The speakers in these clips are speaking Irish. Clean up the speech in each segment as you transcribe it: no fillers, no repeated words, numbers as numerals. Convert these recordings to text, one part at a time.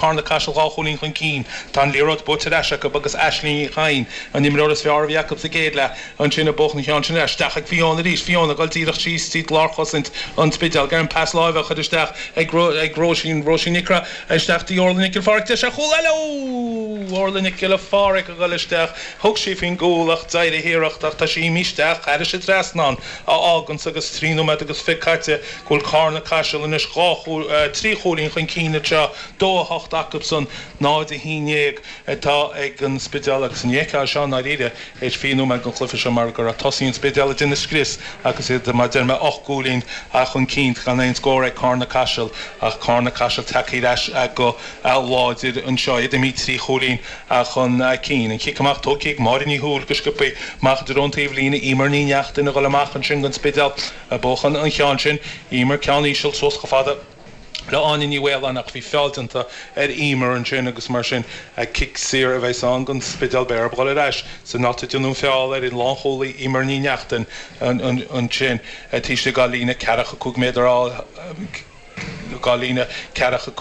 Carna Caiseal 2 chúilín chun cinn. Tá an liathróid buaite ar ais acu agus Aisling Ní Chadhain, an imreoir is fearr a bhí acu sa gcéad leath, ansin ag buachan an cheann sin ar ais. Isteach ag Fiona arís. Fiona ag dul díreach síos tríd lárchosaint an Spidéil. Ag iarraidh an pas láimhe a chur isteach ag ag Róisín, Róisín Nic Craith, isteach dtí Orla Nic Giolla Phádraig. Deis ar chúl eile! Ó! Orla Nic Giolla Phádraig ag dul isteach. Thug sí faoin gcúl ach d'éirigh an iarracht ach tá sí imithe isteach thairis an trasnán a fháganns agus 3 nóiméad agus 20 caite go bhfuil Carna Caiseal anois 2 3 chúilín chun cinn anseo, 2 8 acusan, 0 11 atá ag an Spidéal agus ní fheicfeá seo i ndáiríre théis 20 nóiméad den chluiche seo mar go raibh tosaithe an Spidéil ag déanamh scrios agus iad, mar a deir mé, 8 gcúilín chun cinn gan aon scór ag Carna Caiseal ach Carna Caiseal tagtha ar ais go láidir anseo, iad imithe 3 chúilín chun cinn. An cic amach tógtha ag Máire Ní Shúill go sciobtha amach i dtreo an taobh líne, Emer Ní Neachtain a dhul amach ansin don Spidéal. Ag buachan an cheann sin, Emer ceann íseal suas chomh fada le Áine Ní Mhaoláin ach bhí feall déanta ar Emer ansin agus mar sin cic saor a bheas ann don Spidéal. Beidh orthu dhul ar ais san áit a déanadh an feall ar an lánchúlaí Emer Ní Neachtain ansin taobh istigh dá líne ceathracha 5 méadar dá líne ceathracha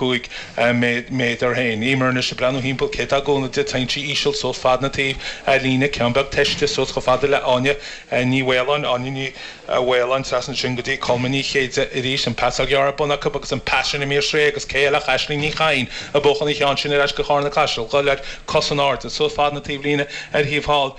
5 méadar féin. Emer anois ag breathnú thimpeall cé atá ag gúnamh di. Téann sí íseal suas fad na taobh líne, ceann beag teiste suas chomh fada le Áine Ní Mhaoláin. Áine Ní Mhaoláin trasna ansin go dtí Colma Ní Chéide arís. An pasáil ghearr ar bun acu agus an pas sin imithe ar strae agus cé eile ach Aisling Ní Chadhain ag buachan an cheann sin ar ais go Charna Caiseal. Dhul ar cos in airde suas fad na taobh líne ar thaobh thall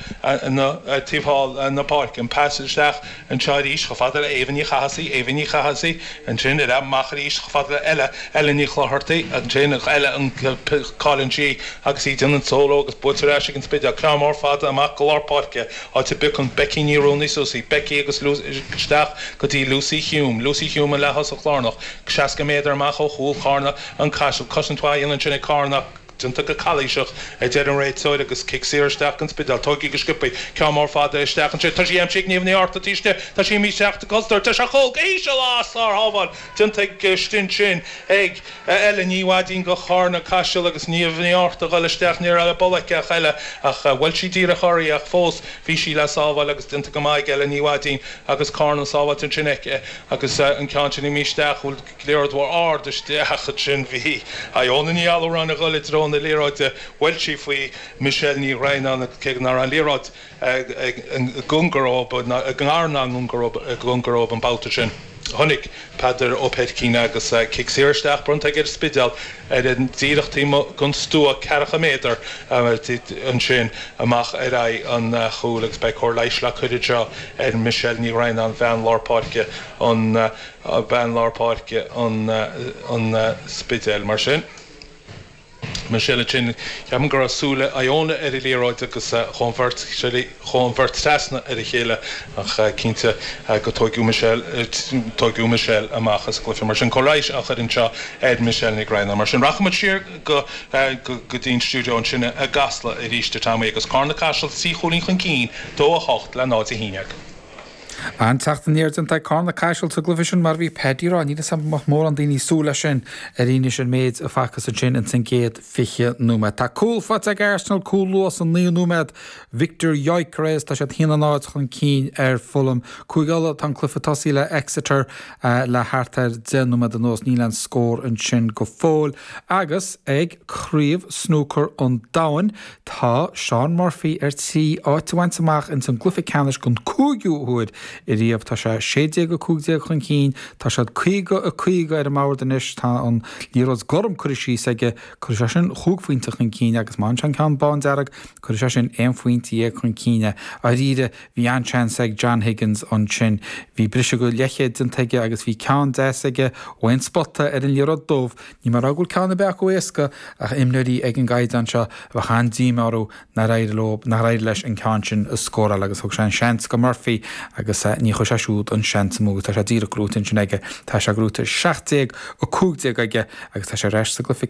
na taobh thall na páirce. An pas isteach anseo arís chomh fada le Éabha Ní Chathasaigh, Éabha Ní Chathasaigh, ansin ar amach arís chomh fada le Ella, Ella Ní Chlochartaigh, ansin Ella an cailleann sí agus í ag déanamh an solo agus buaite ar ais ag an Spidéal. Ceann mór fada amach go lár páirce, áit a bpiocann Becky Ní Ruanaí suas í, Becky agus isteach go dtí Lucy Hume, Lucy Hume an leath-thosach lárnach, 60 méadar amach ó chúl Charna an Caiseal. Cosaint mhaith a dhéanamh ansin ag Carna. Déanta go calaoiseach, a deir an réiteoir agus cic saor isteach don Spidéal. Tógtha go sciobtha. Ceann mór fada isteach ansin. Tá sí aimsithe ag Niamh Ní Fhátharta taobh istigh. Tá sí imithe isteach sa gcultúr. Tá sé chúl go híseal. Á, sár-shábháil déanta ag ansin ag Ella Ní Mhaidín go Charna Caiseal agus Niamh Ní Fhátharta a dhul isteach. Ní raibh le bualadh aici ach Ella ach bhuail sí díreach uirthi ach fós bhí sí le sábháil agus déanta go maith ag Ella Ní Mhaidín agus Carna sábháilte ansin aici agus an ceann sin imithe isteach. Liathróid mhór ard isteach ansin. Bhí Iona Ní Allúráin ag dul i dtreo na liathróide. Bhuail sí faoi Michelle Ní Dhroighneáin agus cé nach raibh an liathróid i gcóngar dóibh, i ngar ná i gcóngar dóibh an babhta sin, chonaic Peadar Ó Peircín agus cic saor isteach bronnta aige ar an Spidéal ar an díreach taobh amuigh den stua ceathracha méadar ansin amach ar aghaidh an chúil agus beidh cóir leighis le cur anseo ar Michelle Ní Dhroighneáin, bean lár páirce an bean lár páirce an Spidéil. Mar sin, Michelle ansin, ceapaim go raibh súile Iona ar an liathróid agus chuaigh an bheirt, chuaigh an bheirt trasna ar a chéile ach cinnte go tóigeadh Michelle, tóigeadh Michelle amach as an gcluiche. Mar sin, cóir leighis á chur anseo ar Michelle Nic Dhroighneáin. Mar sin, rachaidh muid siar go, go dtí an stiúideo ansin i gCasla arís a Tommy agus Carna Caiseal 3 chúilín chun cinn, 2 8 le 0 11. An-teacht aniar déanta ag Carna Caiseal sa gcluiche sin mar a bhí Paddy ag rá, níl 'fhios a'm an mbeadh mórán daoine ag súil leis sin ar fhianaise an méid a facthas ansin ins an gcéad 20 nóiméad. Tá cúl faighte ag Arsenal, cúl luath sa naoú nóiméad, Viktor Gyökeres, tá siad 1-0 chun cinn ar Fulham. Cúige Uladh, tá an cluiche tosaithe le Exeter le thart ar 10 nóiméad anuas, níl aon scór ansin go fóill. Agus ag Craobh Snúcair an Domhain, Tá Shaun Murphy ar tí áit a bhaint amach ins an gcluiche ceannais don cúigiú huair ariamh. Tá sé 16-15 chun cinn. Tá siad 50-50 ar an mbord anois. Tá an liathróid gorm curtha síos aige. Cuirfidh sé sin chúig phointe chun cinn agus má fhaigheann sé an ceann bándearg, cuirfidh sé sin aon phointe dhéag chun cinn é. Dáiríre, bhí an-seans ag John Higgins ansin. Bhí briseadh go leithchéad déanta aige agus bhí ceann deas aige ó aon spota ar an liathróid dubh. Níl mé ag rá go bhfuil ceann ar bith acu éasca ach imreoirí ag an gcaighdeán seo bheadh an-díomá orthu nár éirigh leo, nár éirigh leis an ceann sin a scóráil agus thug sé an seans go Murphy agus ní chuir sé siúd an seans amú agus tá sé díreach gnóite ansin aige. Tá sé gnóite 17 15 aige agus tá sé ar ais sa gcluiche.